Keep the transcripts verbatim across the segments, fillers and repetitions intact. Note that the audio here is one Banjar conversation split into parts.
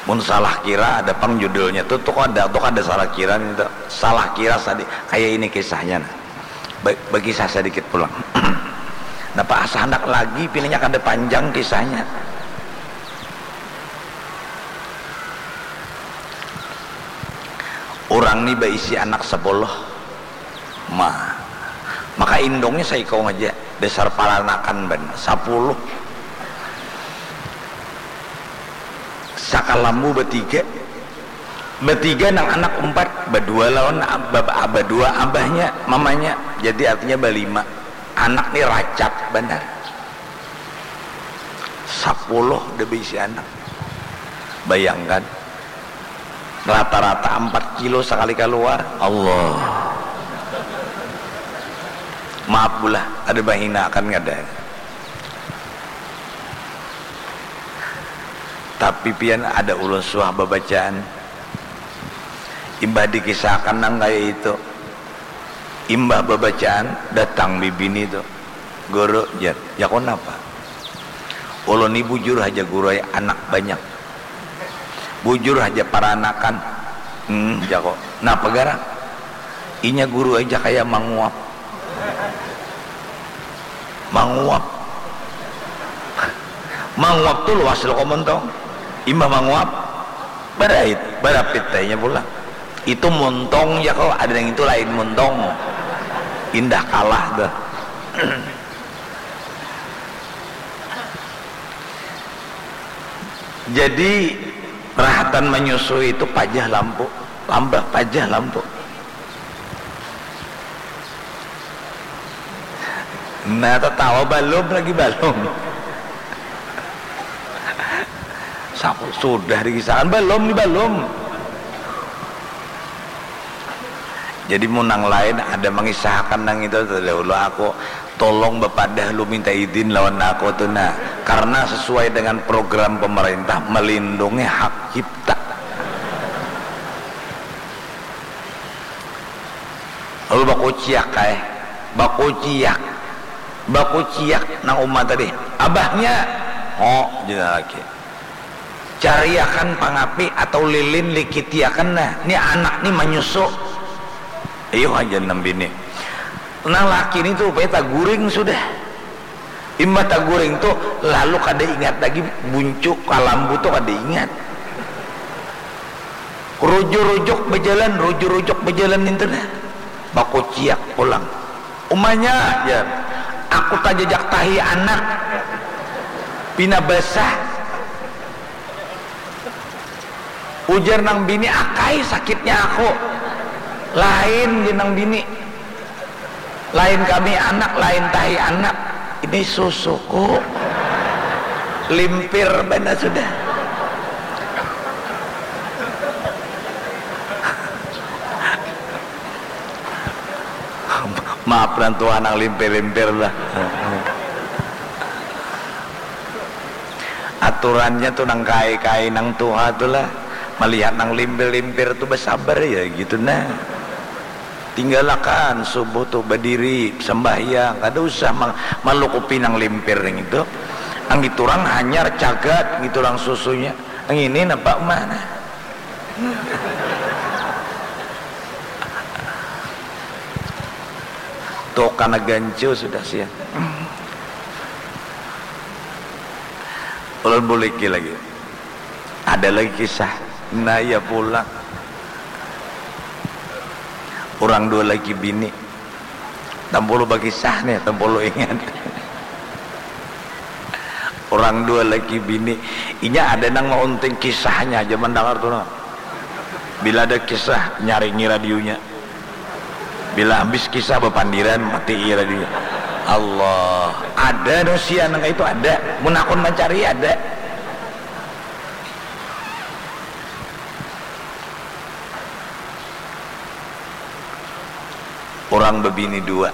Mun salah kira ada pang judulnya tu, tu kada, tu kada salah kira nih tu. Salah kira sadi-, kaya ini kisahnya nah. Ba-, bakisah sadikit pulang. Napa asa handak lagi, pinanya kada panjang kisahnya. Urang ni baisi anak sapuluh. Ma, maka indungnya saikung aja, dasar paranakan banar, sapuluh. Sakalambu batiga, batiga nang anak umpat, badua lawan ab-, ba-, badua abahnya, mamanya, jadi artinya balima. Anak ni racak banar. Sapuluh dah baisi anak. Bayangkan, rata-rata ampat kilo sakali kaluar. Allah. Maaf bulah, kada mahinakan kada. Tapi pian ada ulun suah babacaan. Imbah dikisahakan nang kaya itu. Imbah babacaan, datang bibini tu. "Guru," jar. "Jaku napa?" "Ulun ni bujur haja, Guru ai, anak banyak. Bujur haja paranakan." "Hmm," jaku. "Napa garang?" "Inya, Guru ai, ja kaya manguap." "Manguap?" "Manguap tu luas lo ko montong. Imbah manguap, barait, barapit ai inya pulang." "Itu montong," jaku, "ada nang itu lain montong." Indah kalah tuh. Jadi, rahatan manyusui itu pajah lampu, lambah pajah lampu. Nah, tatawa balum lagi, balum. Saku sudah dikisahakan, balum ni, balum. Jadi mun nang lain ada mangisahakan nang itu, tadahulu aku, tolong bapadah lu minta idin lawan aku tu nah, karena sesuai dengan program pemerintah melindungi hak cipta. Lalu bakuciak ai, bakuciak, bakuciak nang uma tadi. "Abahnya!" "Ho," jar laki. "Cariakan pangapi atau lilin, likitiakan nah. Ni anak ni manyusu." Ayuh aja nang bini. Nang laki ni tu rupanya taguring sudah. Imbah taguring tu, lalu kada ingat lagi buncu kalambu tu, kada ingat. Rujuk-rujuk bajalan, rujuk-rujuk bajalan nintu nah. Bakuciak pulang. "Umanya," jar, "aku tajajak tahi anak. Pina basah." Ujar nang bini, "Akai sakitnya aku." "Lain," jar nang bini. "Lain kami anak, lain tahi anak. Ini susuku." Limpir banar sudah. Maaf nang tuha nang limpir-limpir lah. Aturannya tu nang kai-kai nang tuha tu lah. Malihat nang limpir-limpir tu basabar ya gitu nah. Tinggalakan subuh tu badiri sambahyang, kada usah ma-, malukupi nang limpir nang itu. Nang itu urang hanyar cagat gitu nang susunya. Nang ini napa mana? Tuh kana gancu sudah sia. Ulun buliki lagi. Ada lagi kisah. Nah, iya pulang. Urang dua laki bini. Tampulu bakisah nih, tampulu ingat. Urang dua laki bini. Inya ada nang maunting kisahnya aja mandangar tu nah. Bila ada kisah, nyaringi radionya. Bila habis kisah bapandiran, matii radionya. Allah, ada nu sia nang itu ada. Mun hakun mancari ada. Urang babini dua.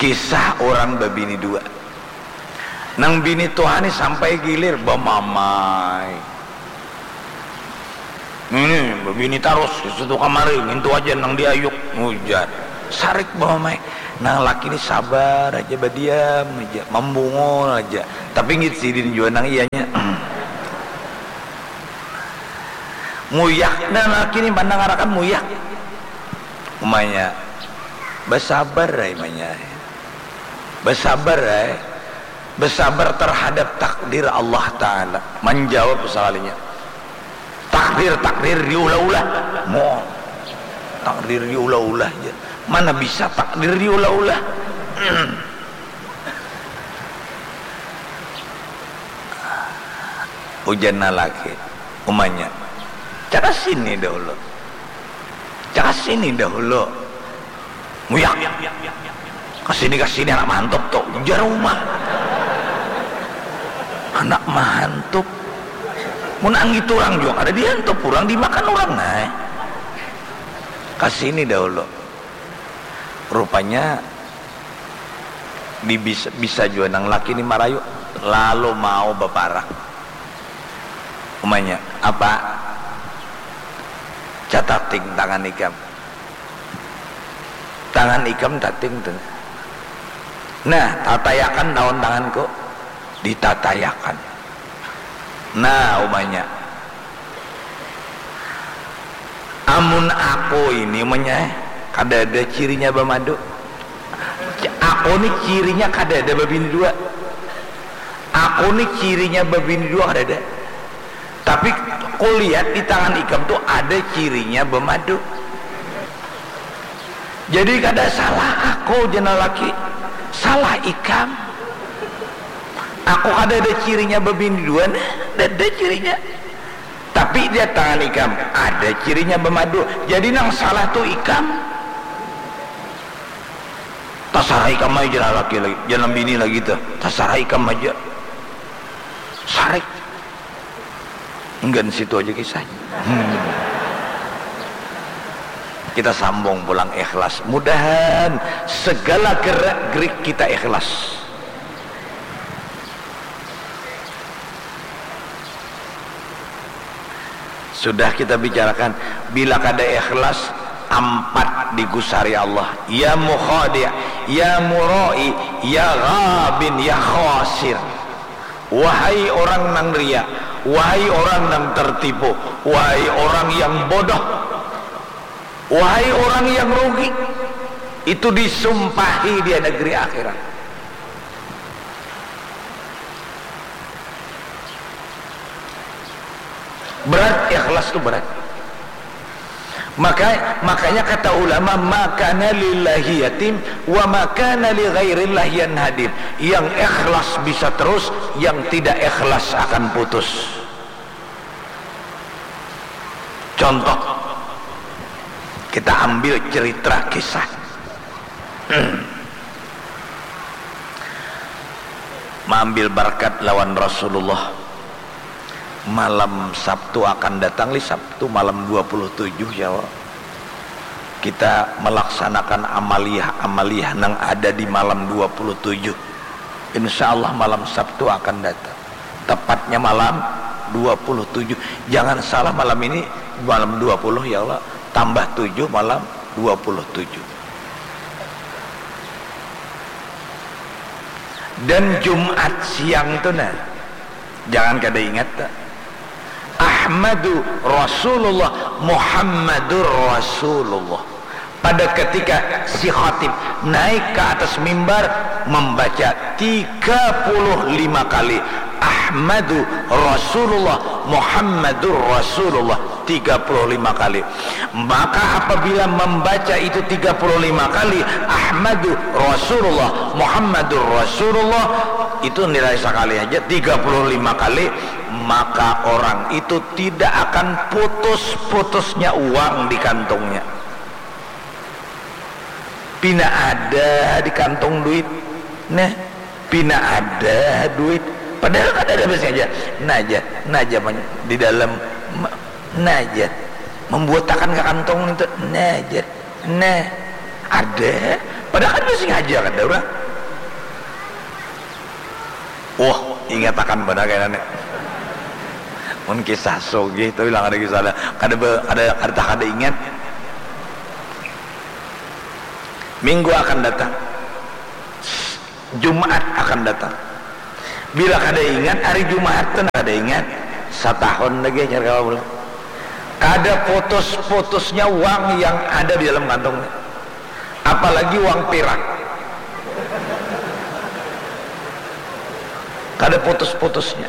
Kisah urang babini dua. Nang bini tuha ni sampai gilir bamamai. Ini babini tarus, situ kamari, ngintu aja nang diayuk, ujar. Sarik bamamai. Nang laki ni sabar aja, badiam aja, mambungul aja. Tapi ngitu sidin jua nang iyanya. Muyak, nah, laki ni mandangarakan muyak. Umanya, basabar ai, umanya. Basabar ai. Basabar terhadap takdir Allah Ta'ala. Manjawab sekalinya. Takdir, takdir diulah-ulah. Mo, takdir diulah-ulah ja. Mana bisa takdir diulah-ulah? Ujar nang laki, umanya, "Cakap sini dahulu. Cakap sini dahulu." Muyak. "Kasini, kasini, anak mahantop tu," ujar uma. Anak mahantop. Mun anggit urang jua kada dihantop urang, dimakan urang ai. Kasini dahulu. Rupanya di bis-, bisa jua nang laki ni marayu, lalu mau baparak. Umanya, "Apa? Catating tangan ikam." Tangan ikam tating tu. Nah, tatayakan lawan tanganku. Ditatayakan. Nah, umanya. Amun aku ini, umanya, eh, kada ada cirinya bamadu. Aku ni cirinya kada ada babini dua. Aku ni cirinya babini dua kada ada. Tapi kulihat di tangan ikam tu ada cirinya bamadu. Jadi kada salah aku, jar nang laki. Salah ikam. Aku kada ada cirinya babini dua, nah, kada ada cirinya. Tapi di tangan ikam ada cirinya bamadu. Jadi nang salah tu ikam. Tasarah ikam aja, jar nang laki lagi, jar nang bini lagi tu. Tasarah ikam aja. Sarik. Enggan situ aja kisahnya. Hmm. Kita sambung pulang ikhlas. Mudahan segala gerak-gerik kita ikhlas. Sudah kita bicarakan, bila kada ikhlas, ampat digusari Allah. Ya mukhadi', ya murai, ya ghabin, ya khasir. Wahai orang nang ria, wahai orang nang tertipu, wahai orang yang bodoh, wahai orang yang rugi, itu disumpahi dia negeri akhirat. Berat, ikhlas tu berat. Maka, makanya kata ulama, "Ma kana lillahi yatim, wa ma kana li ghairillahi yanhadim." Yang ikhlas bisa terus, yang tidak ikhlas akan putus. Contoh, kita ambil cerita kisah. Maambil barakat lawan Rasulullah. Malam Sabtu akan datang, li Sabtu malam dua puluh tujuh, ya Allah. Kita melaksanakan amaliah-amaliah nang ada di malam dua puluh tujuh. Insya Allah malam Sabtu akan datang. Tepatnya malam dua puluh tujuh. Jangan salah, malam ini malam dua puluh, ya Allah. Tambah tujuh, malam dua puluh tujuh. Dan Jumat siang tu, nah, jangan kada ingat, tak? Ahmadu Rasulullah, Muhammadur Rasulullah. Pada ketika si khatib naik ke atas mimbar, membaca tiga puluh lima kali, "Ahmadu Rasulullah, Muhammadur Rasulullah," tiga puluh lima kali. Maka apabila membaca itu tiga puluh lima kali, "Ahmadu Rasulullah, Muhammadur Rasulullah," itu nilai sekali aja tiga puluh lima kali, maka orang itu tidak akan putus-putusnya uang di kantongnya. Pina ada di kantong duit. Nah, pina ada duit. Padahal kada ada, biasanya aja. Nah aja, nah aja, di dalam, nah aja. Membuatakan ke kantong itu, nah aja. Nah, ada. Padahal kada sengaja kada urang. Wah, ingatakan banar kayaknya nih. Mun kisah sugih tu bilang ada kisah ada, kada be-, kada, kada, kada ingat. Minggu akan datang. Jumaat akan datang. Bila kada ingat hari Jumaat tu, kada ingat. Satahun lagi ajar kawa pulang. Kada putus-putusnya uang yang ada di dalam kantungnya. Apalagi uang pirak. Kada putus-putusnya.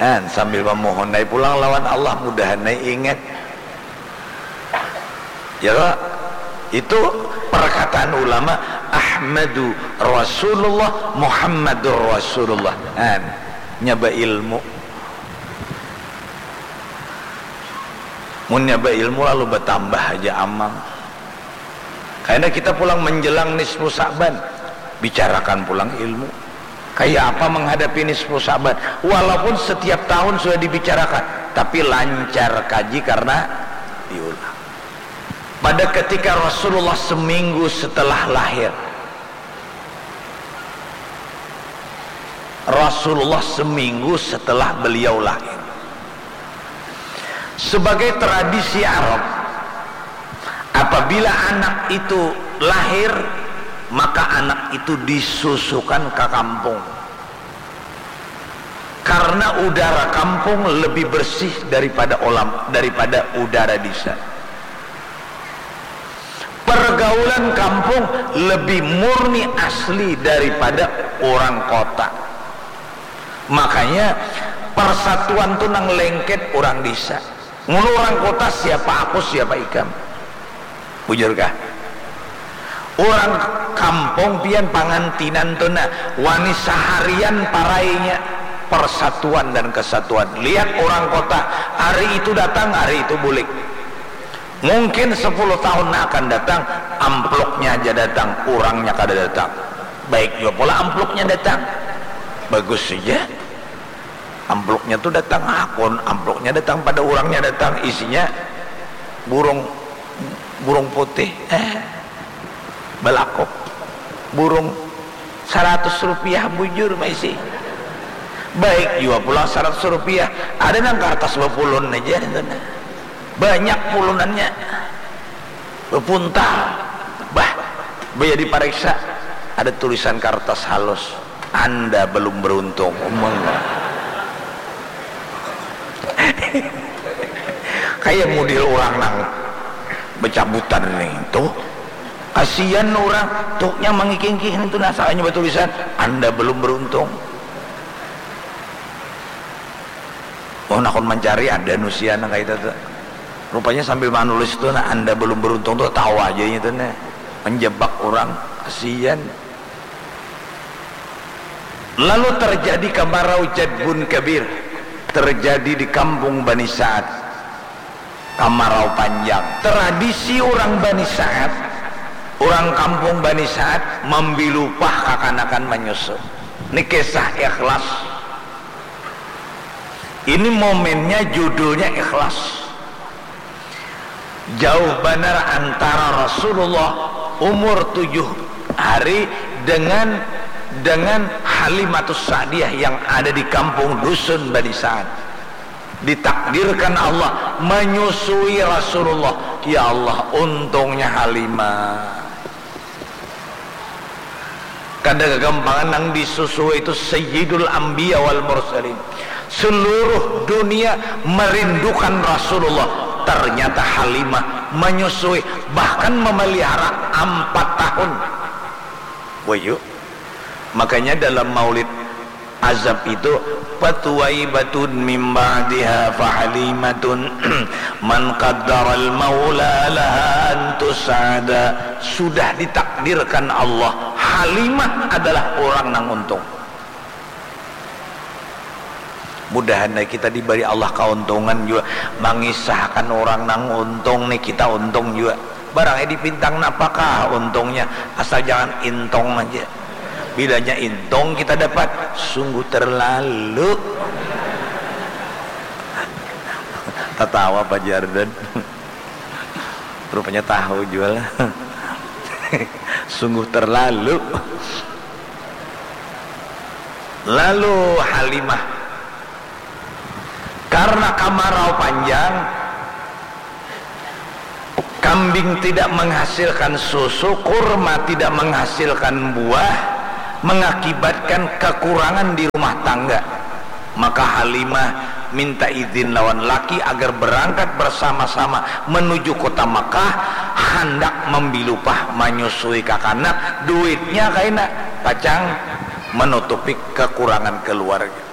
Dan sambil memohon ai pulang lawan Allah, mudahan ai ingat. Ya, itu perkataan ulama, "Ahmadu Rasulullah, Muhammadur Rasulullah." Kan, nyaba ilmu. Mun nyaba ilmu lalu bertambah aja amal. Karena kita pulang menjelang nisfu Sa'ban, bicarakan pulang ilmu. Kayak apa menghadapi nisfu Sa'ban? Walaupun setiap tahun sudah dibicarakan, tapi lancar kaji karena diulang. Pada ketika Rasulullah seminggu setelah lahir, Rasulullah seminggu setelah beliau lahir. Sebagai tradisi Arab, apabila anak itu lahir, maka anak itu disusukan ke kampung. Karena udara kampung lebih bersih daripada olam, daripada udara desa. Pergaulan kampung lebih murni asli daripada orang kota. Makanya persatuan tu nang lengket orang desa. Mun orang kota, siapa aku, siapa ikam. Bujur kah? Orang kampung pian pangantinan tu nah, wani saharian parainya persatuan dan kesatuan. Lihat orang kota, hari itu datang, hari itu bulik. Mungkin sepuluh tahun akan datang, amplopnya aja datang, orangnya kada datang. Baik juga pula amplopnya datang. Bagus saja. Amplopnya tu datang, akun amplopnya datang, pada orangnya datang, isinya burung, burung putih, eh, balakuk, burung. Saratus rupiah bujur maisi. Baik jua pulang saratus rupiah. Ada nang kartas bapulun aja itu nah. Banyak pulunannya. Bapuntal. Bah, baya dipariksa. Ada tulisan kartas halus. Anda belum beruntung. Umang. Kayak model orang nang bacabutan nih tuh. Kasihan orang tuh yang mengikingkih itu nah, salahnya batulisan, "Anda belum beruntung." Oh, nakon mencari ada nusian kayak itu tuh. Rupanya sambil menulis tuh, nah, "Anda belum beruntung" tuh tahu aja itu nah. Menjebak orang, kasihan. Lalu terjadi kamarau jadbun kabir, terjadi di kampung Bani Sa'ad. Kamarau panjang. Tradisi orang Bani Sa'ad, orang kampung Bani Sa'ad mambilupah kakanakan manyusu. Ini kisah ikhlas. Ini momennya judulnya ikhlas. Jauh banar antara Rasulullah umur tujuh hari dengan, dengan Halimatus Sa'diyah yang ada di kampung dusun Bani Sa'ad. Ditakdirkan Allah menyusui Rasulullah. Ya Allah, untungnya Halimah. Kada gagampangan nang disusui itu Sayyidul Anbiya wal Mursalin. Seluruh dunia merindukan Rasulullah. Ternyata Halimah menyusui, bahkan memelihara empat tahun. Wahyu. Makanya dalam maulid Azab itu, "Fathuwaibatun mim ba'diha fahalimatun man qaddaral maula laha an tus'ada." Sudah ditakdirkan Allah, Halimah adalah orang nang untung. Mudahan ai kita dibari Allah kauntungan jua mangisahkan orang nang untung nih, kita untung jua. Barang ai dipintang napakah untungnya, asal jangan intong aja. Bilanya intong kita dapat, sungguh terlalu. Tatawa Pak Jardan. Rupanya tahu jua lah. Sungguh terlalu. Lalu Halimah, karena kamarau panjang, kambing tidak menghasilkan susu, kurma tidak menghasilkan buah, mengakibatkan kekurangan di rumah tangga. Maka Halimah minta izin lawan laki agar berangkat bersama-sama menuju kota Mekah, handak mambilupah manyusui kakanak, duitnya kaina, pacang menutupi kekurangan keluarga.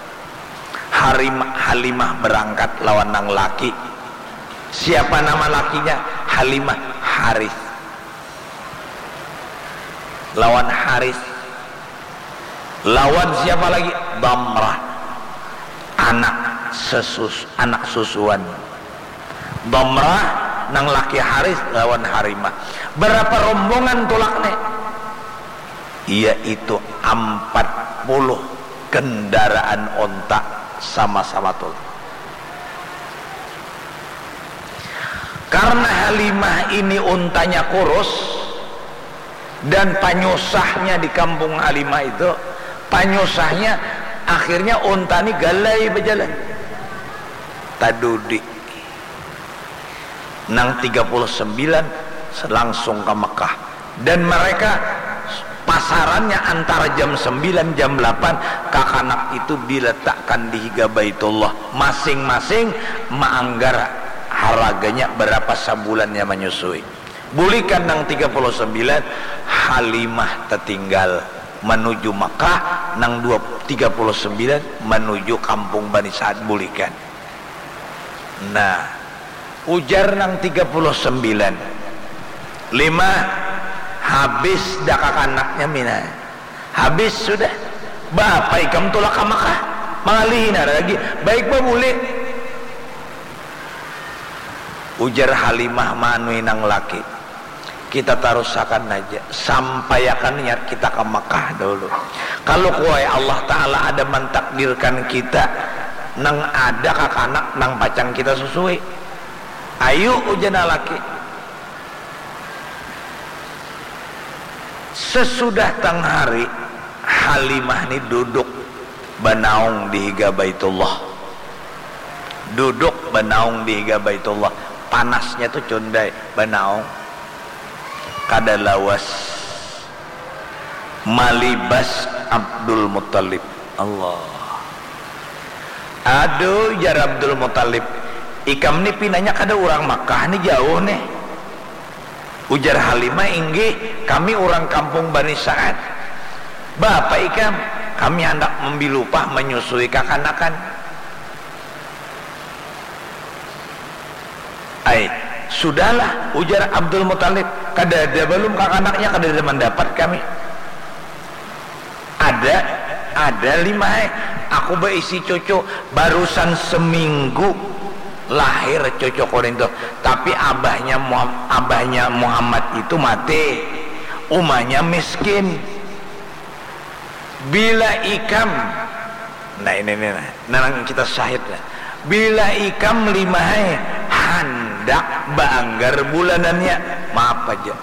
Harimah, Halimah berangkat lawan nang laki. Siapa nama lakinya? Halimah. Haris. Lawan Haris. Lawan siapa lagi? Damrah. Anak sesus, anak susuan. Damrah nang laki Haris lawan Harimah. Berapa rombongan tulak nih? Yaitu empat puluh kendaraan onta sama-sama tulak. Karena Halimah ini untanya kurus, dan panyusahnya di kampung Halimah itu, panyusahnya akhirnya unta ni galai bajalan. Tadudi. Nang tiga puluh sembilan langsung ka Mekah. Dan mereka pasarannya antara jam sembilan, jam delapan, kakanak itu diletakkan di higa Baitullah. Masing-masing maanggar haraganya berapa sabulannya manyusui. Bulikan nang tiga puluh sembilan, Halimah tatinggal manuju Makkah, nang dua, tiga puluh sembilan manuju kampung Bani Sa'ad bulikan. Nah, ujar nang tiga puluh sembilan, "Lima, habis dah kakanaknya mina. Habis sudah. Bapa ikam tulak ka Makkah? Mangalihi nara lagi. Baik babuli." Ujar Halimah maanui nang laki, "Kita tarusakan aja, sampaiakan niat kita ka Makkah dahulu. Kalau kuai Allah Ta'ala ada mantakdirkan kita, nang ada kakanak nang pacang kita susui. Ayu," ujar nang laki. Sesudah tang hari, Halimah ni duduk banaung di higa Baitullah. Duduk banaung di higa Baitullah. Panasnya tu cundai, banaung. Kada lawas malibas Abdul Muttalib. Allah. "Aduh," jar Abdul Muttalib, "ikam ni pinanya kada urang Makkah ni, jauh nih." Ujar Halimah, "Inggih, kami urang kampung Bani Sa'ad." "Bapa ikam?" "Kami handak mambilupah manyusui kakanakan." "Ai, sudahlah," ujar Abdul Muttalib, "kadada balum kakanaknya, kadada mandapat kami." "Ada, ada, Limah ai. Aku baisi cucu, barusan seminggu lahir cucuku nintu. Tapi abahnya Muham-, abahnya Muhammad itu mati. Umanya miskin. Bila ikam," nah ini nih, nah, nang kita syahid lah. "Bila ikam, Limah ai, handak baanggar bulanannya, maaf aja.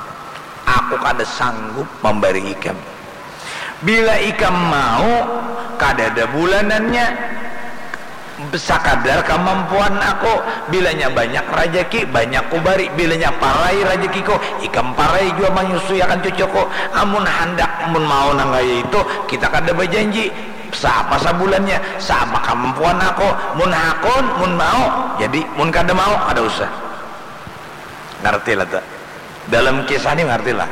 Aku kada sanggup mambari ikam. Bila ikam mau, kadada bulanannya, sakadar kamampuan aku. Bilanya banyak rajaki, banyak kubari. Bilanya parai rajakiku, ikam parai jua manyusuiakan cucuku. Amun handak, mun mau nang kaya itu, kita kada bajanji. Saapa sabulannya, saapa kamampuan aku. Mun hakun, mun mau, jadi. Mun kada mau, kada usah." Ngarti lah tu? Dalam kisah ni ngartilah.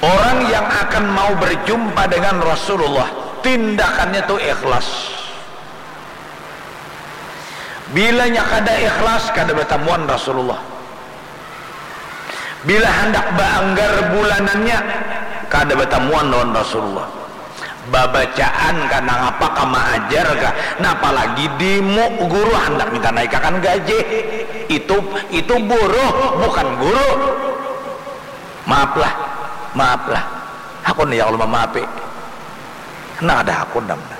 Orang yang akan mau berjumpa dengan Rasulullah, tindakannya tu ikhlas. Bilanya kada ikhlas, kada batamuan Rasulullah. Bila handak baanggar bulanannya, kada batamuan lawan Rasulullah. Babacaan kah, nangapa kah, maajar kah, napa lagi dimu guru handak minta naikakan gajih. Itu, itu buruh, bukan guru. Maaflah, maaflah. Hakun ya Allah mamaafi. Nah, ada hakun namanya.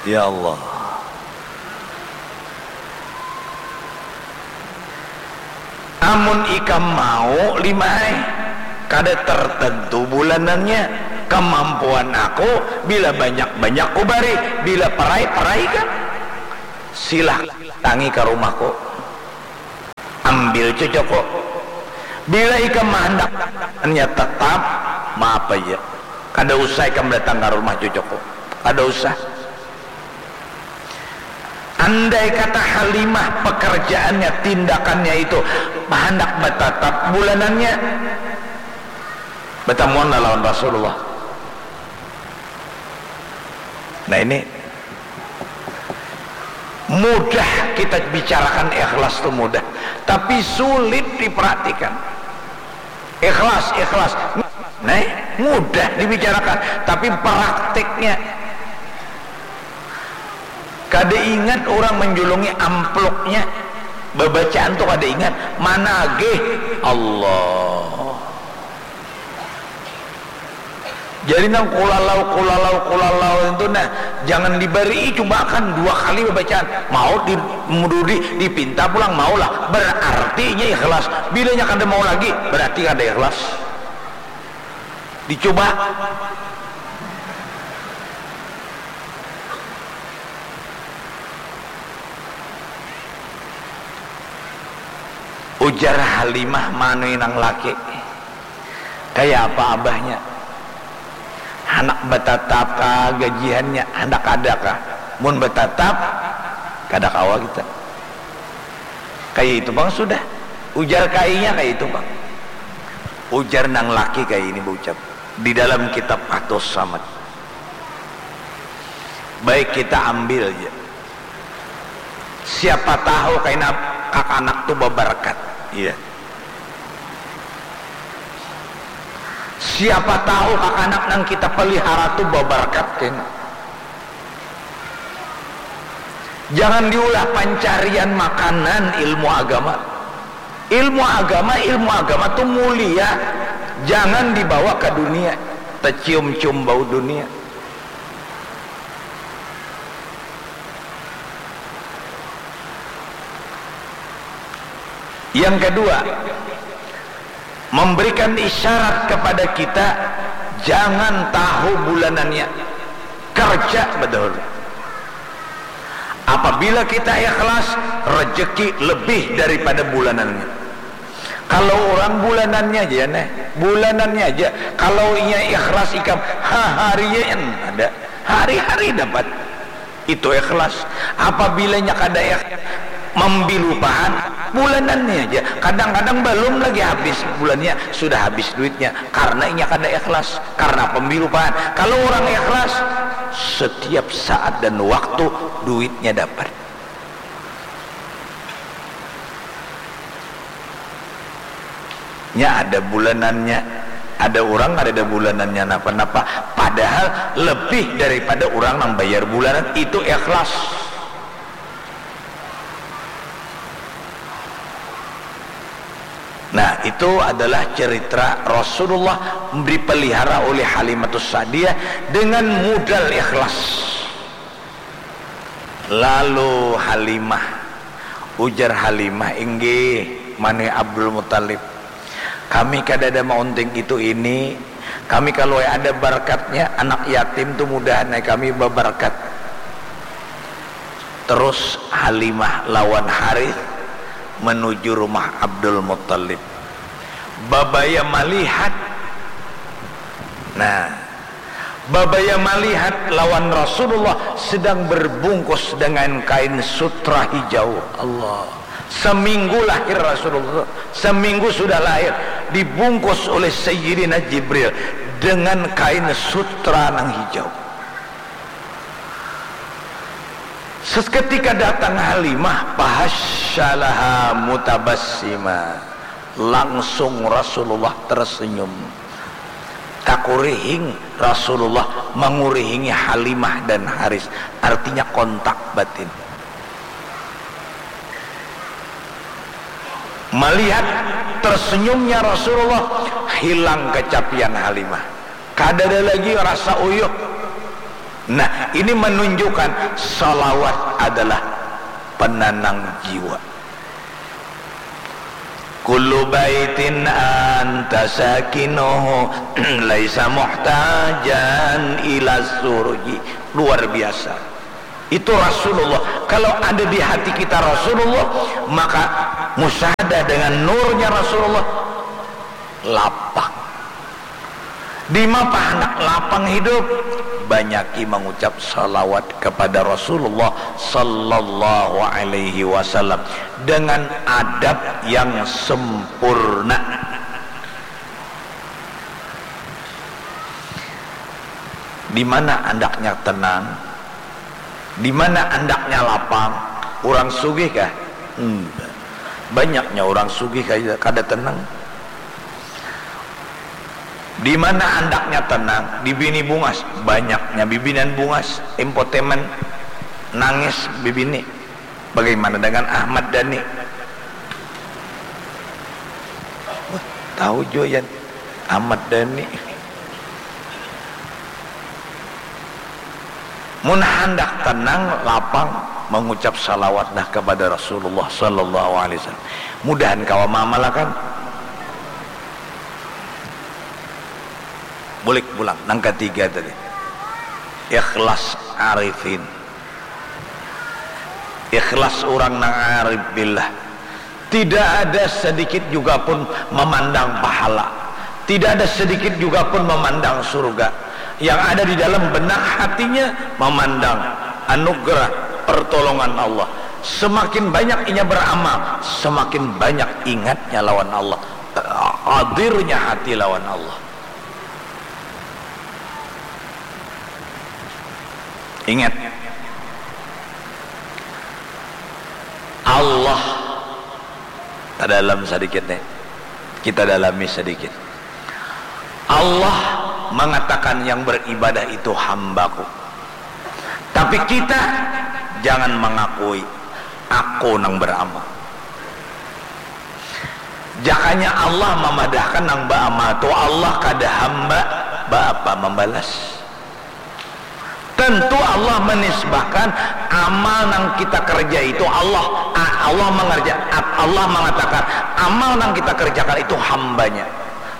Ya Allah. Amun ikam mau, Limah ai, kada tertentu bulanannya. Kemampuan aku, bila banyak-banyak kubari, bila perai, peraikan. Silah tangi ka rumahku. Ambil cucuku. Bila ikam mahandak nya tetap, maaf aja. Kada usah ikam datang ka rumah cucuku. Kada usah. Andai kata Halimah pekerjaannya, tindakannya itu handak batatap bulanannya, batamuanlah lawan Rasulullah. Nah, ini mudah kita bicarakan ikhlas tu mudah, tapi sulit diperhatikan. Ikhlas, ikhlas. Nah, mudah dibicarakan, tapi praktiknya kada ingat orang menjulungi amplopnya, babacaan tu kada ingat, managih Allah. Jadi nang kulalau, kulalau, kulalau itu nah, jangan dibarii, cubakan dua kali babacaan. Mau di, di, dipinta pulang, maulah. Berarti inya ikhlas. Bila inya kada mau lagi, berarti kada ikhlas. Dicuba. Ujar Halimah manui nang laki. Kaya apa abahnya? Handak batatap kah gajihannya? Handak kada kah? Mun batatap, kada kawa kita. Kaya itu pang sudah. Ujar kainya kaya itu pang. Ujar nang laki kaya ini baucap. Di dalam kitab Fathus Samad. Baik, kita ambil ja. Siapa tahu kaina kakanak tu babarkat. Iya. Siapa tahu kakanak nang kita pelihara tu babarkat kaina. Jangan diulah pancarian makanan ilmu agama. Ilmu agama, ilmu agama tu mulia. Jangan dibawa ka dunia. Tecium-cium bau dunia. Yang kedua, memberikan isyarat kepada kita jangan tahu bulanannya. Kerja bedahulu. Apabila kita ikhlas, rejeki lebih daripada bulanannya. Kalau orang bulanannya aja neh, bulanannya aja. Kalau inya ikhlas ikam, haharian ada, hari-hari dapat. Itu ikhlas. Apabila inya kada ikhlas, mambilupahan, bulanannya aja. Kadang-kadang balum lagi habis bulannya, sudah habis duitnya. Karena inya kada ikhlas, karena pembilupahan. Kalau orang ikhlas, setiap saat dan waktu duitnya dapat. Nya ada bulanannya, ada urang kadada bulanannya napa-napa, padahal lebih daripada urang nang bayar bulanan, itu ikhlas. Nah, itu adalah cerita Rasulullah dipelihara oleh Halimatus Sa'diyah dengan modal ikhlas. Lalu Halimah, ujar Halimah, "Inggih, manui Abdul Muttalib. Kami kadada maunting itu ini, kami kalau ada barakatnya, anak yatim tu mudahan ai kami babarkat." Terus Halimah lawan Harith menuju rumah Abdul Muttalib. Babaya malihat. Nah, babaya malihat lawan Rasulullah sedang berbungkus dengan kain sutra hijau. Allah. Seminggu lahir Rasulullah, seminggu sudah lahir, dibungkus oleh Sayyidina Jibril dengan kain sutra nang hijau. Seketika datang Halimah, fahasyalaha mutabassima. Langsung Rasulullah tersenyum. Takurihing Rasulullah mengurihingi Halimah dan Haris, artinya kontak batin. Melihat tersenyumnya Rasulullah, hilang kecapian Halimah. Kadada lagi rasa uyuh. Nah, ini menunjukkan salawat adalah penenang jiwa. Kullu baitin anta sakinuhu laisa muhtajan ila surji. Luar biasa. Itu Rasulullah. Kalau ada di hati kita Rasulullah, maka musyahadah dengan nurnya Rasulullah, lapang. Di mapa handak lapang hidup? Banyaki mengucap salawat kepada Rasulullah sallallahu alaihi wasallam dengan adab yang sempurna. Di mana andaknya tenang? Di mana andaknya lapang? Urang sugih kah? Hmm. Banyaknya urang sugih kada, kada tenang. Di mana andaknya tenang? Di bini bungas. Banyaknya bibinian bungas, impotemen, nangis bibini. Bagaimana dengan Ahmad Dhani? Wah, tahu jua, Yan. Ahmad Dhani. Mun handak tenang, lapang, mengucap salawatlah kepada Rasulullah sallallahu alaihi wasallam. Mudahan kawa maamalakan. Bulik pulang, nang katiga tadi. Ikhlas arifin. Ikhlas urang nang arif billah. Tidak ada sedikit juga pun memandang pahala. Tidak ada sedikit juga pun memandang surga. Yang ada di dalam benak hatinya memandang anugerah pertolongan Allah. Semakin banyak inya beramal, semakin banyak ingatnya lawan Allah. Hadirnya hati lawan Allah. Ingat, Allah, tadalam sadikit nih, kita dalami sadikit. Allah mengatakan, "Yang beribadah itu hambaku." Tapi kita jangan mengakui, "Aku nang beramal." Jakanya Allah mamadahkan nang baamal tu Allah, kada hamba baapa mambalas. Tentu Allah menisbahkan amal nang kita kerja itu Allah, a-, Allah mengerja-, a-, Allah mengatakan amal nang kita kerjakan itu hambanya.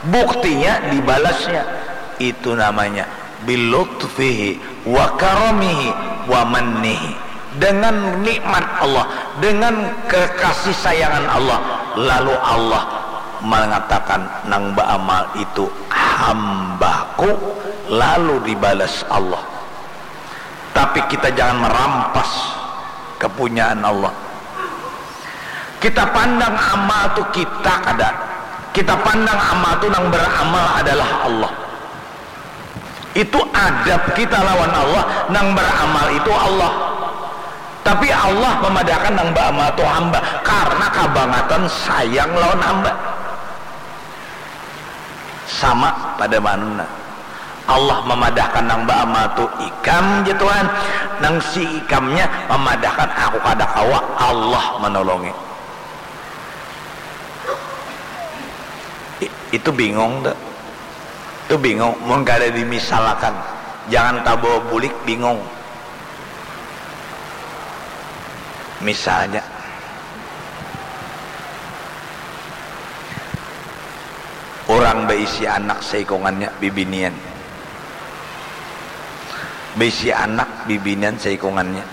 Buktinya dibalasnya. Itu namanya bilutfihi wa karamihi wa mannihi. Dengan nikmat Allah, dengan kekasih sayangan Allah, lalu Allah mengatakan, "Nang baamal itu hambaku," lalu dibalas Allah. Tapi kita jangan merampas kepunyaan Allah. Kita pandang amal tu kita kada. Kita pandang amal tu nang beramal adalah Allah. Itu adab kita lawan Allah, nang beramal itu Allah. Tapi Allah memadahkan nang baamal tu hamba karena kabangatan sayang lawan hamba. Sama pada manuna. Allah mamadahkan nang baamal tu ikam, jar Tuhan. Nang si ikamnya mamadahkan, "Aku kada kawa," Allah manolongi. I-, itu bingung tu. Itu bingung. Mun kada dimisalakan, jangan tabawa bulik, bingung. Misalnya, urang baisi anak saikungannya, bibinian. Baisi anak, bibinian saikungannya.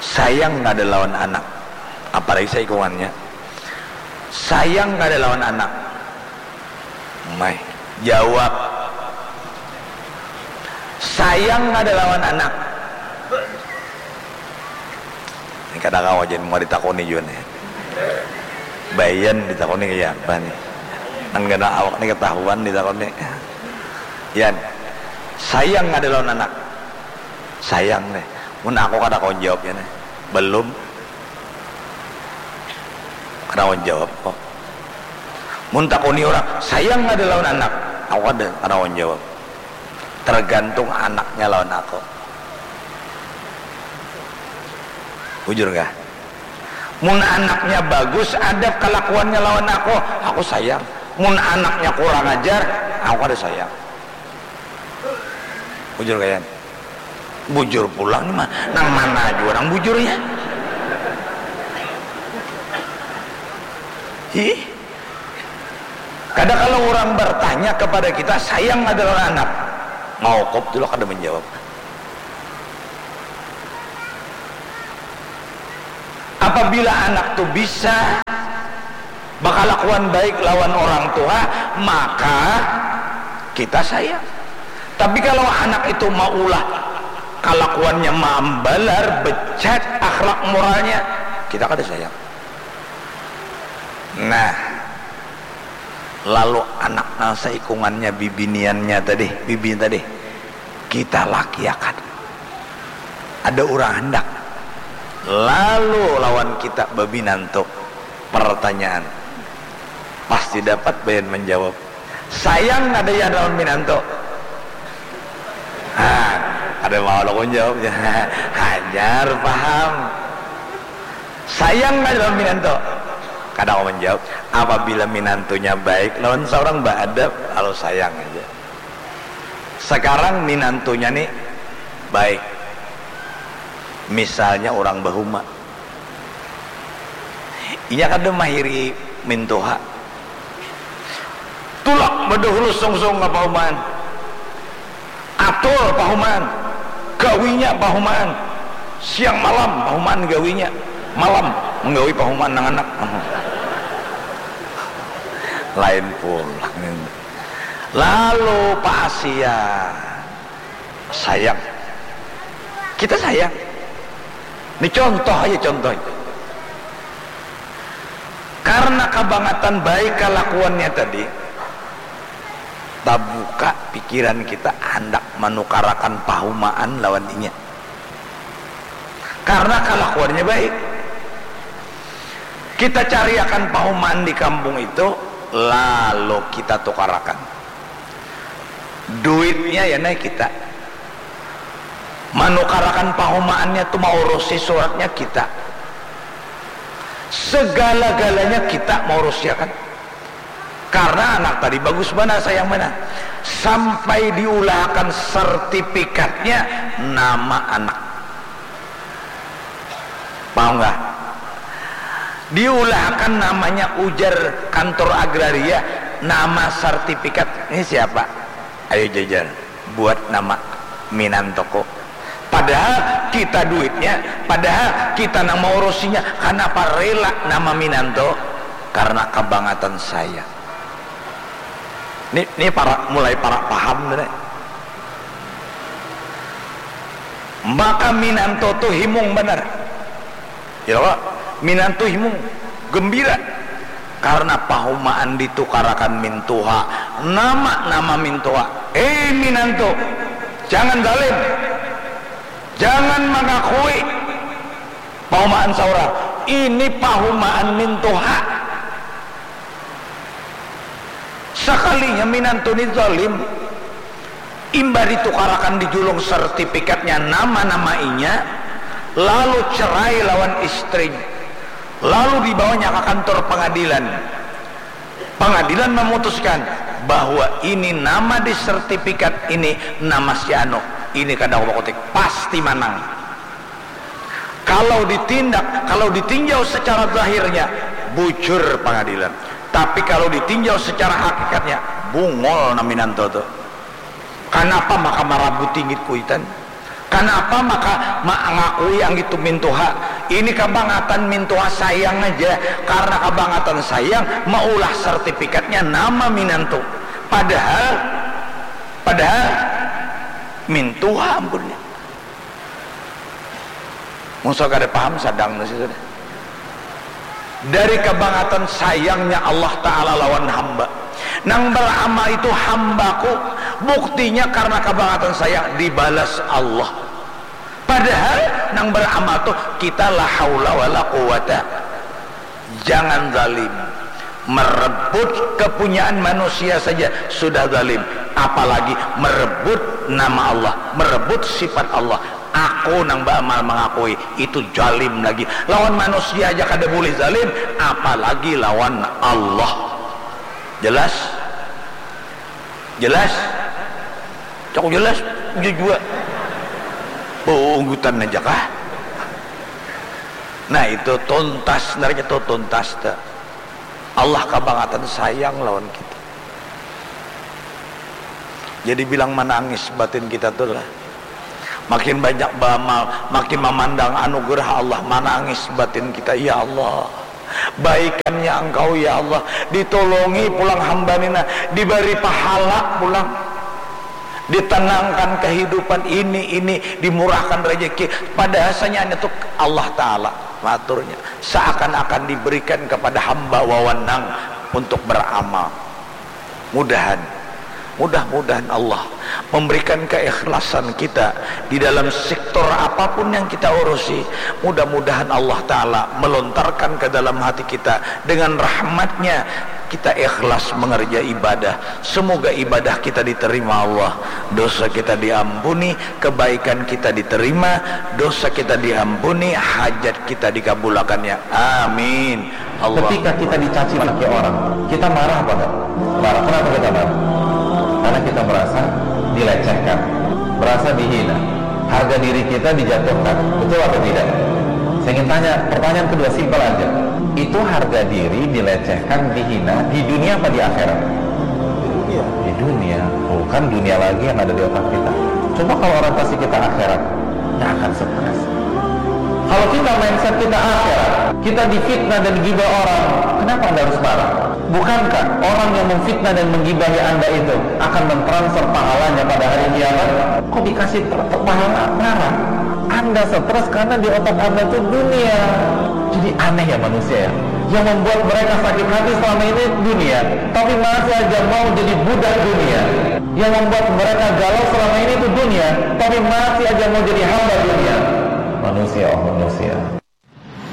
Sayang kada lawan anak, apalagi saikungannya. Sayang kada lawan anak. Mai, jawab. Sayang kada lawan anak. Ini kada kawa, jar, mau ditakuni jua nih. Bayan ditakuni kaya apa nih? Nang kena awak nih ketahuan ditakuni. Yan, sayang kada lawan anak? Sayang nih. Mun aku kada kawa jawab, Yan. Belum. Kada kawa jawab kok. Mun takuni urang, "Sayang kada lawan anak?" Aku kada, kada kawa jawab. Tergantung anaknya lawan aku. Bujur kah? Mun anaknya bagus adab kalakuannya lawan aku, aku sayang. Mun anaknya kurang ajar, aku kada sayang. Bujur kah, Yan? Bujur pulang ni mah. Nang mana jua nang bujurnya? Ih. Kada kalau urang bertanya kepada kita, "Sayang kada lawan anak?" Maukup tu lah kada menjawab. Apabila anak tu bisa bakalakuan baik lawan orang tua, maka kita sayang. Tapi kalau anak itu maulah kalakuannya maambalar, becat akhlak moralnya, kita kada sayang. Nah, lalu anak nang saikungannya bibiniannya tadi, bibi tadi, kita lakiakan. Ada urang handak lalu lawan kita babinantu, pertanyaan pasti dapat bayan manjawab. Sayang kada ya lawan minantu? Ha, kada mau aku jawabnya. Hanyar paham. Sayang kada lawan minantu? Kada mau menjawab. Apabila minantunya baik lawan seorang, beadab, lalu sayang aja. Sekarang minantunya nih baik, misalnya orang bahuma, inya kada mahiri mintuha, tulak badahulu sungsung ka pahumaan, atur pahumaan, gawinya pahumaan, siang malam pahumaan gawinya, malam menggawi pahumaan nang anak. Lain pulang ini. Lalu Pak Asia sayang. Kita sayang. Ini contoh aja, contoh aja. Karena kabangatan baik kalakuannya tadi, tabuka pikiran kita handak manukarakan pahumaan lawan inya. Karena kalakuannya baik. Kita cariakan pahumaan di kampung itu, lalu kita tukarakan. Duitnya ya naik kita. Manukarakan pahumaannya tu, maurusi suratnya kita. Segala-galanya kita maurusiakan. Karena anak tadi bagus banar, sayang banar. Sampai diulahakan sertifikatnya nama anak. Paham nggak? Diulahakan namanya, ujar kantor agraria, nama sertifikat. Ini siapa? Ayo jajar. Buat nama minantuku. Padahal kita duitnya, padahal kita nang maurusinya. Kanapa rela nama minantu? Karena kabangatan sayang. Ni, ni parak, mulai parak paham tu, nih. Maka minantu tu himung banar. Ya, Pak? Minantu himung, gembira. Karena pahumaan ditukarakan mintuha. Nama, nama mintuha. Eh, minantu, jangan zalim. Jangan mengakui pahumaan saurang. Ini pahumaan mintuha. Sakalinya minantu ni zalim, imbah ditukarakan di julung sertifikatnya nama-nama inya, lalu cerai lawan istrinya, lalu dibawanya ka kantor pengadilan. Pengadilan memutuskan bahwa ini nama di sertifikat ini nama si anu, ini kada aku bakutik, pasti manang. Kalau ditindak, kalau ditinjau secara zahirnya, bujur pengadilan. Tapi kalau ditinjau secara hakikatnya, bungul nang minantu tu. Kanapa maka marabut inggit kuitan? Kanapa maka mangakui anggit tu mintuha? Ini kabangatan mintuha sayang aja. Karena kabangatan sayang, maulah sertifikatnya nama minantu. Padahal, padahal mintuha ampunnya. Mun suah kada paham, sadang tu sudah. Dari kabangatan sayangnya Allah Ta'ala lawan hamba. Nang beramal itu hambaku, buktinya karena kabangatan sayang dibalas Allah. Padahal nang beramal tu kita la haula wala quwata. Jangan zalim. Merebut kepunyaan manusia saja sudah zalim, apalagi merebut nama Allah, merebut sifat Allah. Aku nang beramal mengakui, itu zalim lagi. Lawan manusia aja kada boleh zalim, apalagi lawan Allah. Jelas? Jelas? Cok jelas, ujar jua. Bunggutan aja kah? Nah, itu tuntas, sebenarnya itu tuntas tu. Allah kabangatan sayang lawan kita. Jadi bilang manangis batin kita tu lah. Makin banyak beramal, makin memandang anugerah Allah, manangis batin kita, ya Allah. Baikannya engkau ya Allah, ditolongi pulang hamba nina, dibari pahala pulang, ditenangkan kehidupan ini, ini, dimurahkan rezeki. Padahasanya hanya tu Allah Ta'ala maturnya, seakan-akan diberikan kepada hamba wawanang untuk beramal. Mudahan, mudah-mudahan Allah memberikan keikhlasan kita di dalam sektor apapun yang kita urusi. Mudah-mudahan Allah Ta'ala melontarkan ke dalam hati kita dengan rahmatnya, kita ikhlas mengerja ibadah. Semoga ibadah kita diterima Allah, dosa kita diampuni, kebaikan kita diterima, dosa kita diampuni, hajat kita dikabulakannya. Amin. Allah. Ketika kita dicaci maki orang, kita marah apa enggak? Marah. Kenapa kita marah? Karena kita merasa dilecehkan, merasa dihina, harga diri kita dijatuhkan. Betul atau tidak? Saya ingin tanya, pertanyaan kedua simpel aja. Itu harga diri dilecehkan, dihina di dunia apa di akhirat? Di dunia. Bukan dunia lagi yang ada di otak kita. Coba kalau orientasi kita akhirat, nggak akan stres. Kalau kita mindset kita akhirat, kita difitnah dan gibah orang, kenapa Anda harus marah? Bukankah orang yang memfitnah dan menggibahi Anda itu akan mentransfer pahalanya pada hari kiamat? Kok dikasih ter- ter- pahala, marah? Anda stres karena di otak Anda itu dunia. Jadi aneh ya manusia ya. Yang membuat mereka sakit hati selama ini dunia, tapi masih aja mau jadi budak dunia. Yang membuat mereka galau selama ini itu dunia, tapi masih aja mau jadi hamba dunia. Manusia, oh manusia.